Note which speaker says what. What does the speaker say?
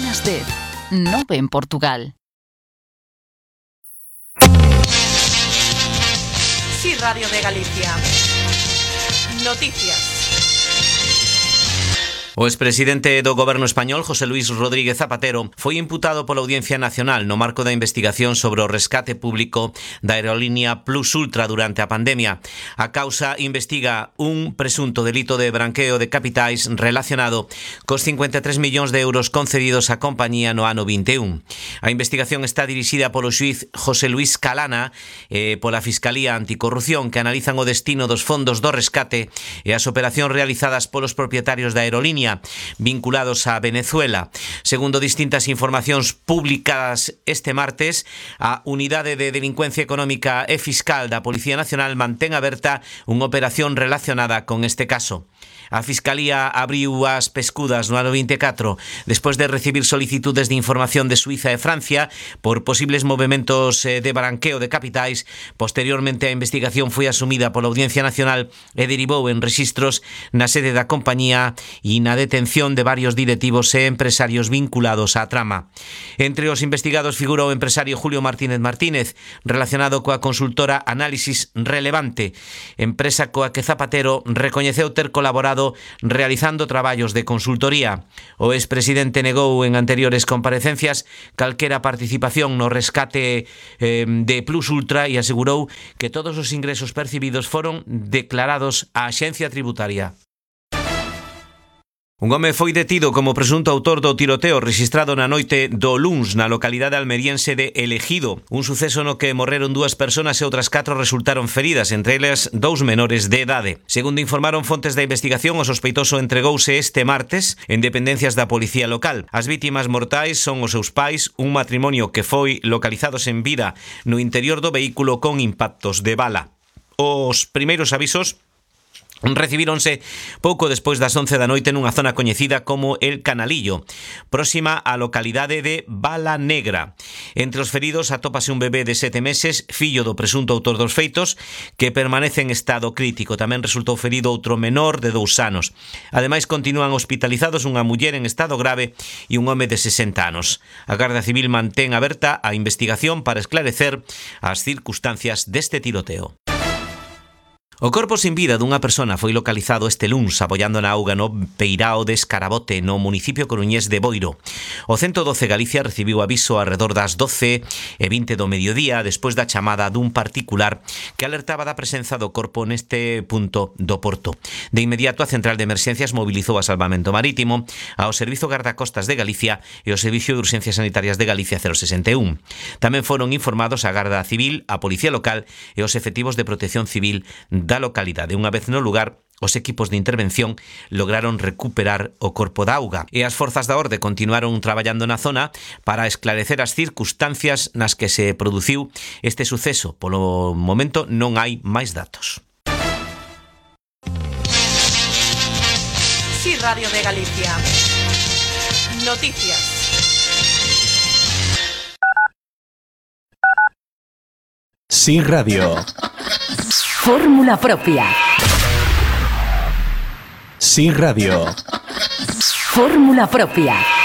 Speaker 1: Antena 10, Nove en Portugal.
Speaker 2: Sí, Radio de Galicia. Noticias.
Speaker 3: O expresidente do Goberno español, José Luís Rodríguez Zapatero, foi imputado pola Audiencia Nacional no marco da investigación sobre o rescate público da aerolínea Plus Ultra durante a pandemia. A causa investiga un presunto delito de branqueo de capitais relacionado cos 53 millóns de euros concedidos á compañía no ano 21. A investigación está dirixida polo xuiz José Luís Calana e pola Fiscalía Anticorrupción, que analizan o destino dos fondos do rescate e as operacións realizadas polos propietarios da aerolínea vinculados a Venezuela. Segundo distintas informacións publicadas este martes, a Unidade de Delincuencia Económica e Fiscal da Policía Nacional mantén aberta unha operación relacionada con este caso. A Fiscalía abriu as pescudas no ano 24 despois de recibir solicitudes de información de Suiza e Francia por posibles movementos de branqueo de capitais. Posteriormente, a investigación foi asumida pola Audiencia Nacional e derivou en rexistros na sede da compañía e na detención de varios directivos e empresarios vinculados á trama. Entre os investigados figura o empresario Julio Martínez Martínez, relacionado coa consultora Análisis Relevante, empresa coa que Zapatero recoñeceu ter colaborado realizando traballos de consultoría. O expresidente negou en anteriores comparecencias calquera participación no rescate de Plus Ultra e asegurou que todos os ingresos percibidos foron declarados á Axencia Tributaria. Un home foi detido como presunto autor do tiroteo rexistrado na noite do luns na localidade almeriense de El Ejido, un suceso no que morreron 2 persoas e outras 4 resultaron feridas, entre elas 2 menores de idade. Segundo informaron fontes da investigación, o sospeitoso entregouse este martes en dependencias da policía local. As vítimas mortais son os seus pais, un matrimonio que foi localizados en vida no interior do vehículo con impactos de bala. Os primeiros avisos recibíronse pouco despois das 11 da noite nunha zona coñecida como El Canalillo, próxima á localidade de Bala Negra. Entre os feridos atópase un bebé de 7 meses, fillo do presunto autor dos feitos, que permanece en estado crítico. Tamén resultou ferido outro menor de 2 anos. Ademais, continúan hospitalizados unha muller en estado grave e un home de 60 anos. A Garda Civil mantén aberta a investigación para esclarecer as circunstancias deste tiroteo. O corpo sin vida dunha persona foi localizado este luns abollando na auga no Peirao de Escarabote, no municipio coruñés de Boiro. O 112 Galicia recibiu aviso arredor das 12:20 do mediodía despois da chamada dun particular que alertaba da presenza do corpo neste punto do porto. De inmediato, a Central de Emerxencias mobilizou a Salvamento Marítimo, ao Servizo Gardacostas de Galicia e o Servicio de Urxencias Sanitarias de Galicia 061. Tamén foron informados a Garda Civil, a Policía Local e os efectivos de Protección Civil da localidade. Unha vez no lugar, os equipos de intervención lograron recuperar o corpo da auga e as forzas da orde continuaron traballando na zona para esclarecer as circunstancias nas que se produciu este suceso. Polo momento non hai máis datos.
Speaker 2: Sí, Radio de Galicia. Noticias.
Speaker 4: Sí, Radio.
Speaker 5: Fórmula propia.
Speaker 4: Sí, Radio.
Speaker 5: Fórmula propia.